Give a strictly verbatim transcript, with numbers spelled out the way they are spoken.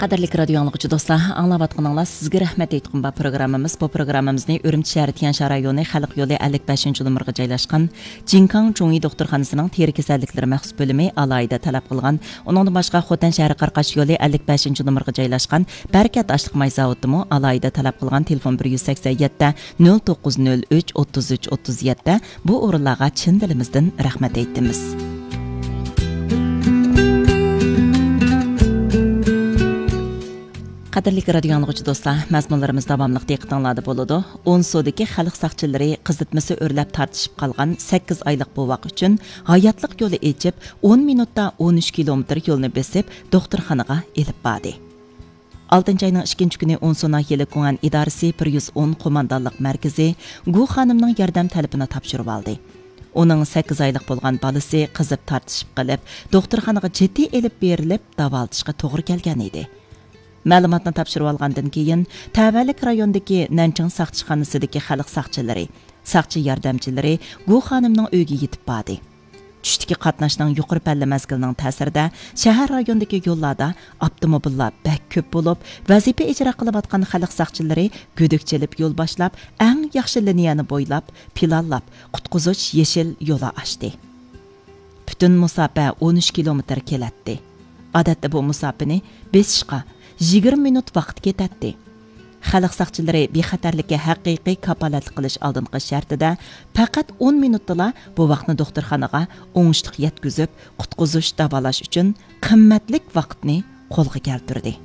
قەدىرلىك رادىيو ئاڭلىغۇچى دوستلار، ئاڭلاۋاتقىنىڭلار سىزگە رەھمەت ئېيتقۇم بار پروگراممىمىز. بۇ پروگراممىمىزنى ئۈرۈمچى شەھىرى تيەنشان رايونى خەلق يولى ئەللىك بەشىنچى نومۇرغا جايلاشقان جىنكاڭ چۇڭيى دوختۇرخانىسىنىڭ تېرە كېسەللىكلىرى مەخسۇس بۆلۈمى ئالاھىدە تەلەپ قىلغان. ئۇنىڭدىن باشقا، خوتەن شەھىرى قاراقاش يولى ئەللىك بەشىنچى نومۇرغا جايلاشقان بەرىكەت ئاشلىق ماي زاۋۇتىمۇ ئالاھىدە تەلەپ قىلغان تېلېفون بىر يۈز سەكسەن يەتتە، نۆل توققۇز نۆل ئۈچ، ئوتتۇز ئۈچ، ئوتتۇز يەتتە، بۇ ئورۇنلارغا چىن دىلىمىزدىن رەھمەت ئېيتىمىز. قەدىرلىك رادىيو ئاڭلىغۇچى دوستلار، مەزمۇنلىرىمىز داۋاملىق دىققىتىڭلاردا بولىدۇ. ئونسۇدىكى خەلق ساقچىلىرى قىزىتمىسى ئۆرلەپ تارتىشىپ قالغان سەككىز ئايلىق بوۋاق ئۈچۈن ھاياتلىق يولى ئېچىپ، ئون مىنۇتتا ئون ئۈچ كىلومېتىر يولنى بېسىپ، دوختۇرخانىغا ئېلىپ باردى. ئالتىنچى ئاينىڭ ئىككىنچى كۈنى ئونسۇ ناھىيەلىك گۇڭئەن ئىدارىسى بىر يۈز ئون قوماندانلىق مەركىزى گۇ خانىمنىڭ ياردەم تەلىپىنى تاپشۇرۇۋالدى. ئۇنىڭ سەككىز ئايلىق بولغان بالىسى قىزىپ تارتىشىپ قېلىپ، دوختۇرخانىغا جىددىي ئېلىپ بېرىلىپ، داۋالىتىشقا توغرا كەلگەن ئىدى. مەلۇماتنى تاپشۇرۇۋالغاندىن كېيىن، تەۋەلىك رايوندىكى نەنچىڭ ساقچىخانىسىدىكى خەلق ساقچىلىرى، ساقچى ياردەمچىلىرى گۇ خانىمنىڭ ئۆيىگە يېتىپ باردى. چۈشتىكى قاتناشنىڭ يۇقىرى پەللە مەزگىلىنىڭ تەسىرىدە، شەھەر رايونىدىكى يوللاردا ئاپتوموبىللار بەك كۆپ بولۇپ، ۋەزىپە ئىجرا قىلىۋاتقان خەلق ساقچىلىرى گۈدۈك چېلىپ يول باشلاپ، ئەڭ ياخشى لىنىيەنى بويلاپ، پىلانلاپ، قۇتقۇزۇش يېشىل يولى ئاچتى. پۈتۈن مۇساپە ئون ئۈچ كىلومېتىر كېلەتتى. ئادەتتە بۇ مۇساپىنى بېسىشقا يىگىرمە مىنۇت ۋاقىت كېتەتتى. خەلق ساقچىلىرى بىخەتەرلىككە ھەقىقىي كاپالەتلىك قىلىش ئالدىنقى شەرتىدە، پەقەت ئون مىنۇتتىلا بوۋاقنى دوختۇرخانىغا ئوڭۇشلۇق يەتكۈزۈپ، قۇتقۇزۇش، داۋالاش ئۈچۈن قىممەتلىك ۋاقىتنى قولغا كەلتۈردى.